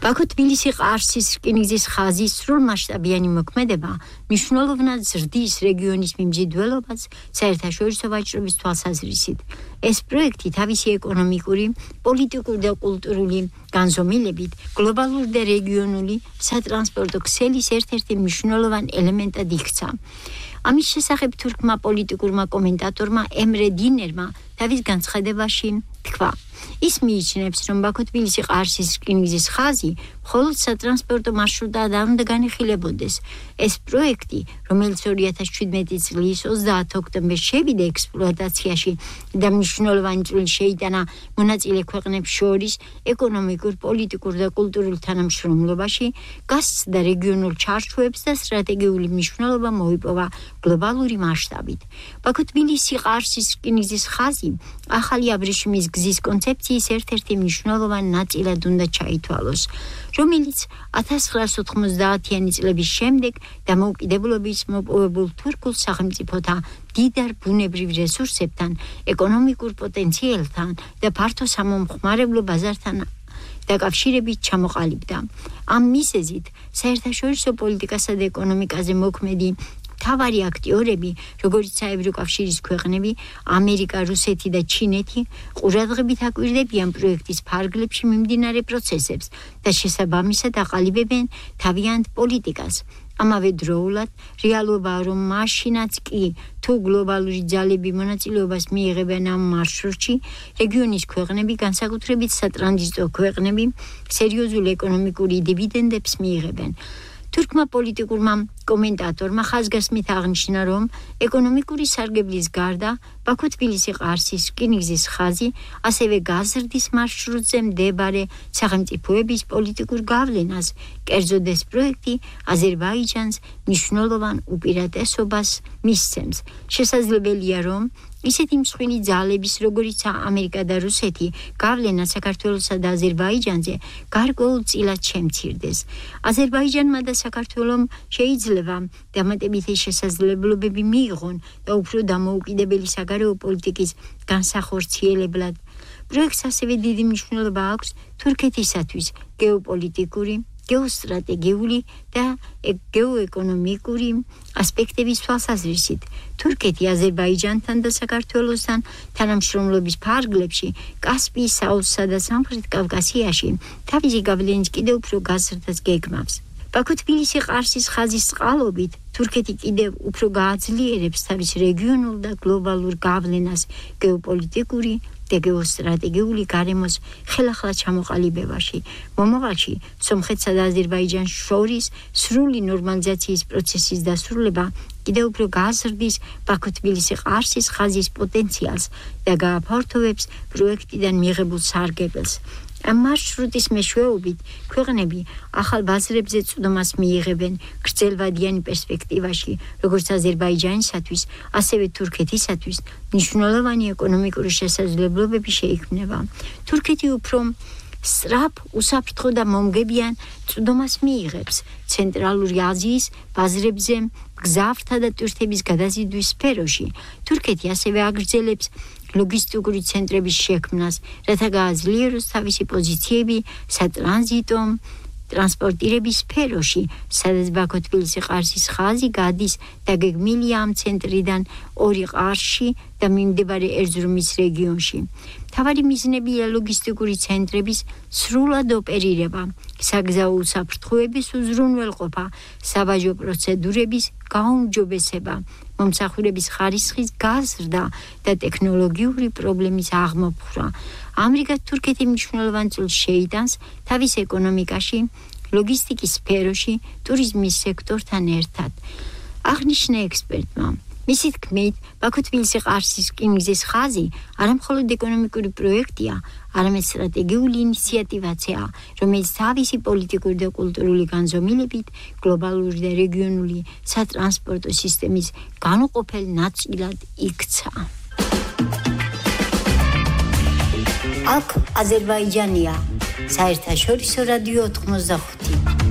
ბაქო-თბილისი-ყარსის რკინიგზის ხაზის სრულმასშტაბიანი მოქმედება მნიშვნელოვნად ზრდის რეგიონის მიმზიდველობას საერთაშორისო ვაჭრობის თვალსაზრისით. ეს პროექტი თავისი ეკონომიკური, პოლიტიკური და კულტურული განზომილებით გლობალური და რეგიონული სატრანსპორტო ქსელის ერთ-ერთი მნიშვნელოვან ელემენტად იქცა. ამის შესახებ თურქმა პოლიტიკურმა კომენტატორმა ემრე დინერმა თავის განცხადებაში თქვა. ის მიიჩნევს, რომ ბაქო-თბილისი-ყარსის რკინიგზის ხაზი მხოლოდ სატრანსპორტო მარშრუტად არ უნდა განიხილებოდეს. ეს პროექტი, რომელიც 2017 წლის 30 ოქტომბერს შევიდა ექსპლუატაციაში და მნიშვნელოვანი წვლილი შეიტანა მონაწილე ქვეყნებს შორის ეკონომიკურ, პოლიტიკურ და კულტურულ თანამშრომლობაში, გასცდა რეგიონულ ჩარჩოებს და სტრატეგიული მნიშვნელობა მოიპოვა გლობალური მასშტაბით. ბაქო-თბილისი-ყარსის რკინიგზის ხაზი ახალი აბრეშუმის გზის კონცეფციის ერთ-ერთი მნიშვნელოვანი ნაწილად უნდა ჩაითვალოს, რომელიც 1990-იანი წლების შემდეგ დამოუკიდებლობის მოპოვებულ თურქულ სახელმწიფოთა დიდარ ბუნებრივ რესურსებთან, ეკონომიკურ პოტენციალთან და ფართო სამომხმარებლო ბაზართან დაკავშირებით ჩამოყალიბდა. ამ მიზეზით საერთაშორისო პოლიტიკასა და ეკონომიკაზე მოქმედი მთავარი აქტიორები, როგორც ევროკავშირის ქვეყნები, ამერიკა, რუსეთი და ჩინეთი, ყურადღებით აკვირდებიან პროექტის ფარგლებში მიმდინარე პროცესებს და შესაბამისად აყალიბებენ თავიანთ პოლიტიკას. ამავე დროულად, რეალობაა, რომ მაშინაც კი თუ გლობალური ძალები მონაწილეობას მიიღებენ ამ მარშრუტში, რეგიონის ქვეყნები, განსაკუთრებით სატრანზიტო ქვეყნები, სერიოზულ ეკონომიკური დივიდენდებს მიიღებენ. თურქმა პოლიტიკურმა კომენტატორმა ხაზგასმით აღნიშნა, რომ ეკონომიკური სარგებლის გარდა ბაქო-თბილისი-ყარსის რკინიგზის ხაზი ასევე გაზრდის მარშრუტზე მდებარე სახელმწიფოების პოლიტიკურ გავლენას, კერძოდ ეს პროექტი აზერბაიჯანს მნიშვნელოვან უპირატესობას მისცემს. შესაძლებელია, რომ ისეთი მსხვილი ძალების, როგორიცაა ამერიკა და რუსეთი, გავლენა საქართველოსა და აზერბაიჯანზე გარკვეულწილად შემცირდეს. აზერბაიჯანმა და საქართველომ შეიძლება დამატებითი შესაძლებლობები მიიღონ და უფრო დამოუკიდებელი საგარეო პოლიტიკის განსახორციელებლად. პროექტს ასევე დიდი მნიშვნელობა აქვს თურქეთისათვის გეოპოლიტიკური, გეოსტრატეგიული და გეოეკონომიკური ასპექტების თვალსაზრისით. თურქეთი აზერბაიჯანთან და საქართველოსთან თანამშრომლობის ფარგლებში, კასპიის აუზსა და სამხრეთ კავკასიაში თავისი გავლენის კიდევ უფრო გაზრდას გეგმავს. ბაქო-თბილისი-ყარსის ხაზის წყალობით თურქეთი კიდევ უფრო გააძლიერებს თავის რეგიონულ და გლობალურ გავლენას გეოპოლიტიკური და გეოსტრატეგიული გარემოს ხელახლა ჩამოყალიბებაში. მომავალში სომხეთსა და აზერბაიჯანს შორის სრული ნორმალიზაციის პროცესის დასრულება კიდევ უფრო გააზრდის ბაქო-თბილისი-ყარსის ხაზის პოტენციალს და გააფართოვებს პროექტიდან მიღებულ სარგებელს. ამ მარშრუტის მეშვეობით ქვეყნები ახალ ბაზრებზე წვდომას მიიღებენ გრძელვადიანი პერსპექტივაში, როგორც აზერბაიჯანისათვის, ასევე თურქეთისათვის მნიშვნელოვანი ეკონომიკური შესაძლებლობები შეიქმნება. თურქეთი უფრო სწრაფ, უსაფრთხო და მომგებიან წვდომას მიიღებს ცენტრალური აზიის ბაზრებზე მგზავრთა და ტურისტების გადაზიდვის სფეროში. თურქეთი ასევე აგრძელებს ლოგისტიკური ცენტრების შექმნას, რათა გააძლიეროს თავისი პოზიციები სატრანზიტო ტრანსპორტირების სფეროში, სადაც ბაქო-თბილისი-ყარსის ხაზი გადის და გეგმილია ამ ცენტრიდან ორი ყარში და მიმდებარე ერზრუმის რეგიონში. მთავარი მიზნებია ლოგისტიკური ცენტრების სრულად ოპერირება, საგზაო უსაფრთხოების უზრუნველყოფა, საბაჟო პროცედურების გაუმჯობესება, მომსახურების ხარისხის გაზრდა და ტექნოლოგიური პრობლემის აღმოფხვრა. ამრიგად თურქეთი მნიშვნელოვან წვლილს შეიტანს თავის ეკონომიკაში, ლოგისტიკის სფეროში, ტურიზმის სექტორთან ერთად. აღნიშნა ექსპერტმა. მისი თქმით, ბაქო-თბილისი-ყარსის რკინიგზის ხაზი არამხოლოდ ეკონომიკური პროექტია, არამედ სტრატეგიული ინიციატივაცია, რომელიც თავისი პოლიტიკური და კულტურული განზომილებით გლობალური და რეგიონული სატრანსპორტო სისტემის განუყოფელ ნაწილად იქცა. აქ აზერბაიჯანია, საერთაშორისო რადიო 85.